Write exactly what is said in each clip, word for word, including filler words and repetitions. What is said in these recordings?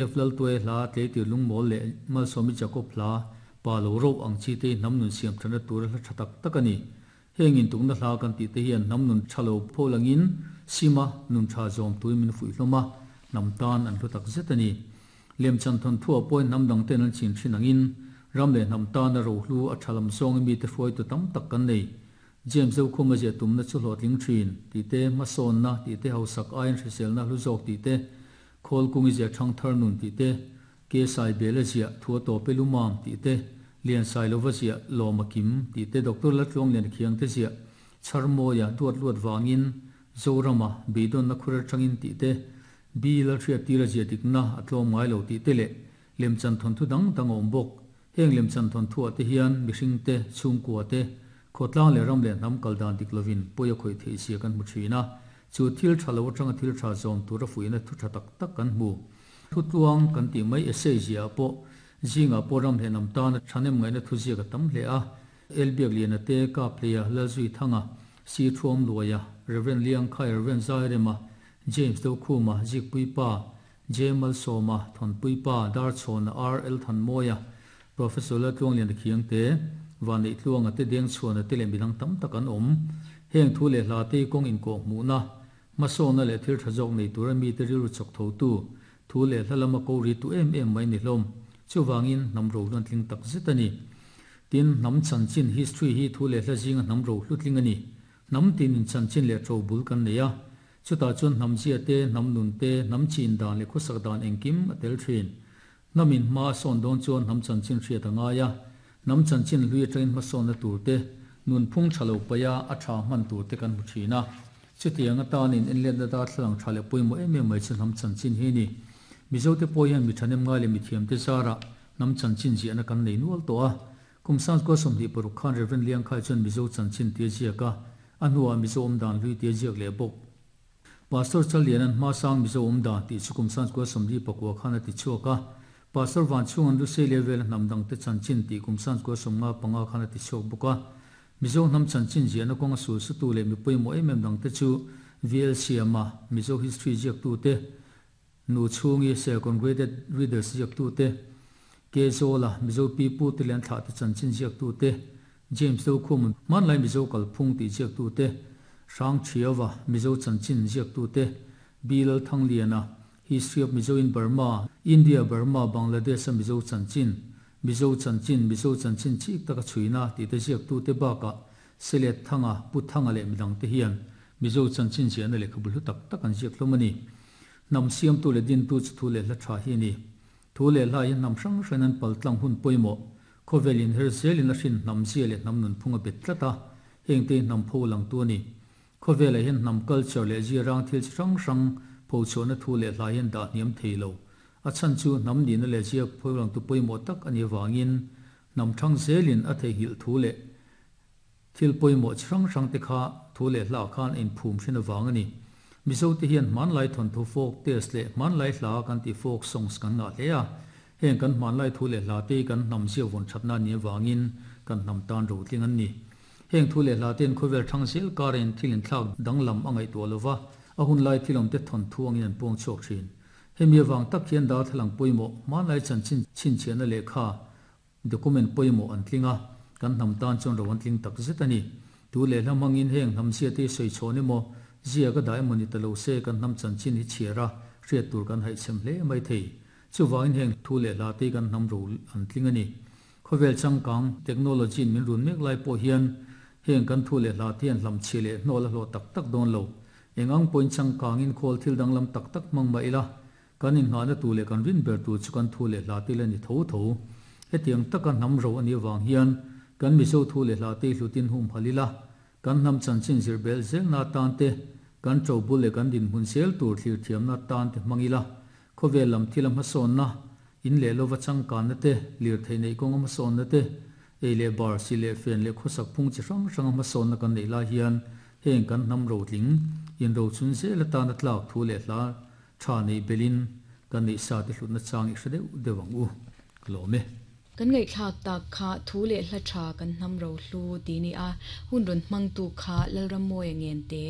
F Laltuaia hla, Tleitir Lungmawl leh Malsawmi Jacob hla, Pa Lo Ro ang chi te hi hnam nun siam thatna tura hla tha tak tak a ni. Heng intukna hla kan tih te hian hnam nun tha lo pho langin sima nun tha zawm tuin min fuih hlawm a, hnam tan an hlu tak zet a ni. Lemchan thawnthuah pawhin hnam dang ten an chin thin angin ram leh hnam tana rohlu a tha lam zawngin mite hruaitu tam tak kan nei. James Zokhuma ziah tumna chu hlawhtling thin tih te, hmasawnna tih te, hausak aiin hriselna hlu zawk tih te, khawl kungi ziah thangthar nun tih te, ke sai bela ziah thu a tawp e lumam tih te, lian sai lova ziah lawm a kim tih te, Doctor Laltluanglian Khiangte ziah Chharmawia duat luat vangin Zorama beidawnna khur atangin tih te, Bill a hriattir a ziah dikna a tlawm ngai lo tih te leh lemchan thawnthu dang dang a awm bawk. Heng lemchan thawnthuah te hian mihring te, chhungkua te, khawtlang leh ram leh hnam kal dan dik lovin pawi a khawih theih zia kan hmu thin a, chu thil tha lo atanga thil tha zawm tura fuihna thu tha tak tak kan hmu. Thutluang kan tih mai essay ziah pawh zingah pawh ram leh hnam tana thahnem ngaihna thu ziak a tam hle a, Elbiak Liana te, Kapleia, Lalzui Thanga, Si Thuam Luaia, Rev Liangkhai, Rev Zairema, James Dokhuma, Zikpui Pa, J Malsawma, Thawnpui Pa, Darchhawna, R L Thanmawia, Professor Laltluangliana Khiangte, Vaneihtluanga te deng chhuana te leh midang tam tak an awm. Heng thu leh hla te kawng inkawh hmuhna, hmasawnna leh thil tha zawk nei tura mite rilru chawk tho tu, thu leh hla lama ko ri tu em em mai ni hlawm. Chuvangin hnam ro hluan tling tak zet a ni. Tin, hnam chanchin, history, hi thu leh hla zinga hnam ro hlu tling a ni. Hnam tinin chanchin leh tro bul kan nei a. Chutah chuan hnam zia te, hnam nun te, hnam chin dan leh khawsak dan engkim a tel thin. Hnamin hma a sawn dawn chuan hnam chanchin hriat a ngai a. Hnam chanchin hlui atangin hmasawnna tur te, nunphung tha lo paih a, a tha hman tur te kan hmu thin a. Chutiang atanin enletna darthlalang tha leh pawimawh em em mai chu hnam chanchin hi a ni. Mizote pawh hian mi thahnem ngai leh mithiamte zarah hnam chanchin ziahna kan nei nual tawh a. Kum sangkua sawmhnih paruk khan Rev Liangkhai chuan Mizo chanchin tia ziak a, a hnuah Mizo awmdan hlui tia ziak leh bawk. Pastor Challiana'n hmasang Mizo awmdan tih chu kum sangkua sawmli pakua khan a ti chhuak a, Pastor Vanchhunga'n Lusei levela hnam dangte chanchin tih kum sangkua sawmnga panga khan a ti chhuak bawk a. Mizo hnam chanchin ziahna kawnga sul sutu leh mi pawimawh em em dangte chu V L Siama, Mizo History ziaktute, Nu chhungi Serkawn Graded Readers ziaktute, K Zawla, Mizo Pi Pu te leh an thlahte chanchin ziaktute, James Dokhum, hmanlai Mizo kalphung tih ziaktute, Hrang Thiava, Mizo chanchin ziaktute, B Lalthangliana, History of Mizo in Burma, India, Burma, Bangladesh-a Mizo chanchin, Mizo chanchin, Mizo chanchin chik taka chhuina tih te ziaktute bakah Selet Thanga, Pu Thanga leh midangte hian Mizo chanchin ziahna lehkhabu hlu tak tak an ziak hlawm a ni. Hnam siamtu leh dintu chu thu leh hla tha hi a ni. Thu leh hla hi hnam hrang hrang an paltlang hun pawimawh. Khawvel inher zelin a hrin hnam zia leh hnam nunphung a bet tlat a, hengte hi hnam pho langtu a ni. Khawvelah hian hnam culture leh zia rang thil chi hrang hrang pho chhuahna thu leh hla hian dah hniam thei lo. A chhan chu hnam nihna leh zia pho langtu pawimawh tak a nih avangin hnam thang zelin a theihnghilh thu leh thil pawimawh chi hrang hrang te kha thu leh hla khan a inphum hrin avang a ni. Mizote hian hmanlai thawnthu folk tales leh hmanlai hla kan tih folk songs kan ngah hle a. Heng kan hmanlai thu leh hla te hi kan hnam zia vawn thatna a nih avangin kan hnam tan rotling an ni. Heng thu leh hla te'n khawvel thang zel karin thil inthlak danglam a ngaihtuah lova, a hun lai thil awmte thawnthu angin an puang chhuak thin. Hemi avang tak hian darthlalang pawimawh, hmanlai chanchin chhinchhiahna lehkha, document pawimawh an tling a, kan hnam tan chuan ro an tling tak zet a ni. Tu leh hla hmangin heng hnam zia te hi sawi chhawn emaw, zia ka dah emaw ni ta lo se kan hnam chanchin hi chhiar a, hriat tur kan haihchhem hle mai thei. Chuvangin heng thu leh hla te hi kan hnam ro an tling a ni. Khawvel changkang, technology in min run mek lai pawh hian heng kan thu leh hla te hian hlamchhiah leh hnawl a hlawh tak tak dawn lo. Eng ang pawhin changkangin khawl thil danglam tak tak hmang mah ila, kan inngahna tur leh kan rin ber tur chu kan thu leh hla te la ni tho tho. Hetiang taka hnam ro a nih avang hian kan Mizo thu leh hla te hi hlutin hum hal ila, kan hnam chanchin zir belh zelna atan te, kan to bul leh kan dinhmun zel tur thlir thiamna atan te hmang ila, khawvel lam thil a hmasawnna, in leh lova changkanna te, lirthei neih kawnga hmasawnna te, ei leh bar, si leh fen leh khawsak phung chi hrang hranga hmasawnna kan neih lai hian heng kan hnam rotling, inrochun zel atana tlak thu leh hla tha neih belhin kan neih sa te hlutna chang i hre deuh deuh ang u. Ka lawm e. Kan ngaihthlak tak kha thu leh hla tha kan hnam ro hlu ti ni a, hun rawn hmangtu kha Lalrammawia Ngente,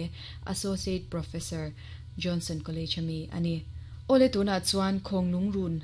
Associate Professor, Johnson College ami a ni. Ole tuna chuan khong lung run